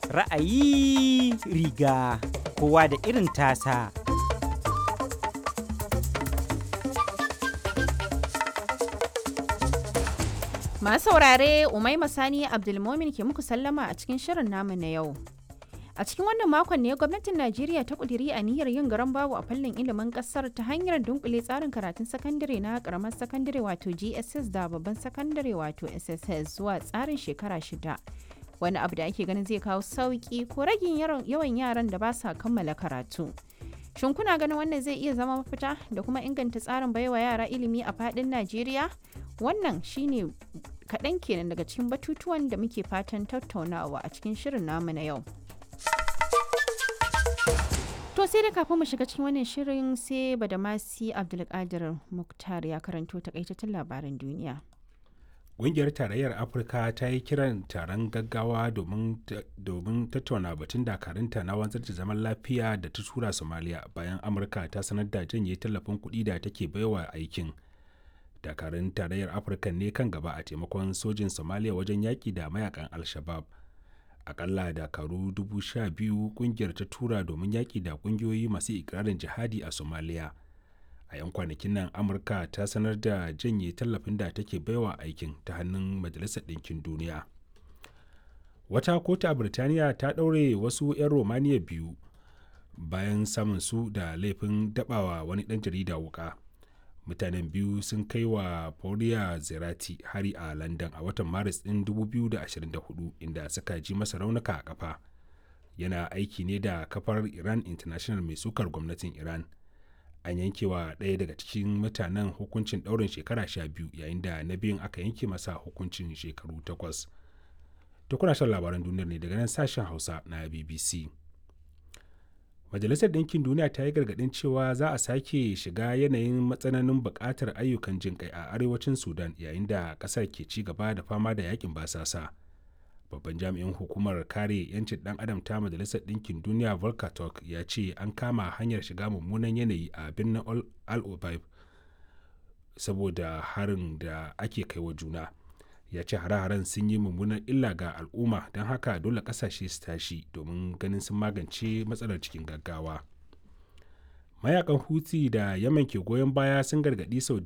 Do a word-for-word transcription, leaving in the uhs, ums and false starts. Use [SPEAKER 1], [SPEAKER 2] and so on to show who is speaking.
[SPEAKER 1] Ra'ayi riga kowa da irin tasa.
[SPEAKER 2] Masu saurare Umaima Sani Abdulmomin ke muku sallama a cikin shirin namu na yau. A cikin wannan makon ne gwamnatin Najeriya ta kudiri aniyar yin garan babu a fannin ilimin kasar ta hanyar dunkule tsarin karatun sakandare na karamar sakandare wato G S S da babban sakandare wato S S S zuwa tsarin shekara shida. Wani abu da ake ganin zai kawo sauki ko ragin yawan yaran da ba sa kammala karatu. Shin kuna ganin wannan zai iya zama mafita da kuma inganta tsarin baiwa yara ilimi a fadin Najeriya? Wannan shine kaɗan kenan daga cikin batutuwan da muke fatan tattaunawa a cikin shirin namu na yau. To sai da kafin mu shiga cikin wannan shirin sai Badamasi Abdulkadir Muktar ya karanto takaitattun labaran duniya.
[SPEAKER 3] Ƙungiyar Tarayyar Afirka ta yi kiran taron gaggawa domin tattauna batun dakarunta na wanzar da zaman lafiya da ta tura Somalia bayan Amurka ta sanar da janye tallafin kuɗi da take baiwa aikin. Dakarun Tarayyar Afirka ne kan gaba a taimakon sojin Somalia wajen yaƙi da mayakan Al-Shabab. Akalla dakaru dubu sha biyu ƙungiyar ta tura domin yaƙi da ƙungiyoyi masu ikirarin jihadi a Somalia. A 'yan kwanakin nan Amurka ta sanar da janye tallafin da take baiwa aikin ta hannun Majalisar Ɗinkin Duniya. Wata kotu a Birtaniya ta ɗaure wasu 'yan Romaniya biyu bayan samun su da laifin dabawa wani ɗan jarida wuka. Mutanen biyu sun kai wa Paula Zerati hari a London a watan Maris ɗin dubu biyu da ashirin da huɗu, inda suka ji masa raunuka a kafa. Yana aiki ne da kafar Iran International mai sukar gwamnatin Iran. An yankewa ɗaya daga cikin mutanen hukuncin ɗaurin shekara sha biyu, yayin da na biyun aka yanke masa hukuncin shekaru takwas. To, kuna shan labaran duniyar ne daga nan sashen Hausa na B B C. Majalisar Ɗinkin Duniya ta yi gargaɗin cewa za a sake shiga yanayin matsananin buƙatar ayyukan jin kai a arewacin Sudan yayin da ƙasar ke ci gaba da fama da yakin basasa. Babban jami'in hukumar kare 'yancin ɗan adam ta Majalisar Ɗinkin Duniya, Volker Turk, ya ce an kama hanyar shiga mummunan yanayi a birnin Al Obaib saboda harin da ake kai wa juna. Ya ce hare-haren sun yi mummunan illa ga al'umma, don haka dole kasashe su tashi domin ganin sun magance matsalar cikin gaggawa. Mayakan Huti da Yaman ke goyon baya sun gargaɗi Saudiya.